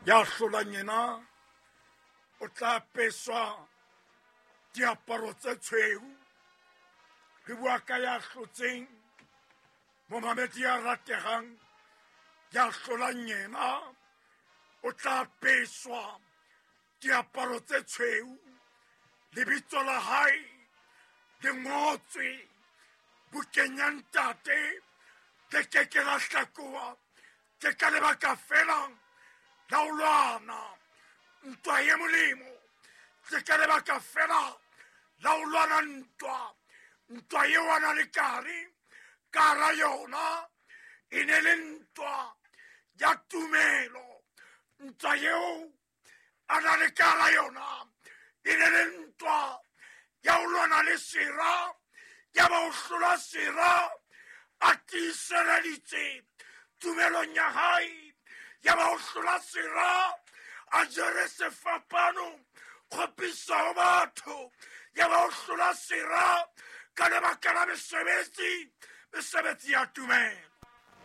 Ya hlolang yena o tla apeswa diaparo tse tshweu. Re bua ka ya hlotseng, momamedi ya rategang, ya hlolang yena o tla apeswa diaparo tse tshweu. Lebitso la hae le ngotswe bukeng ya Ntate, le ke ke la hlakoha. Ke ka lebaka fela la ho lwana ntwa ye molemo, ke ka lebaka fela la ho lwana ntwa, ntwa eo a na le kare ka hara yona e ne le ntwa ya tumelo. Ntwa eo a na le ka hara yona e ne le ntwa ya ho lwana le sera, ya ba ho hlola sera a tiiseleditse tumelong ya hae, ya ba ho hlola sera a jere sefapano kgopiso ho batho, ya ba ho hlola sera ka lebaka la mesebetsi, mesebetsi ya tumelo.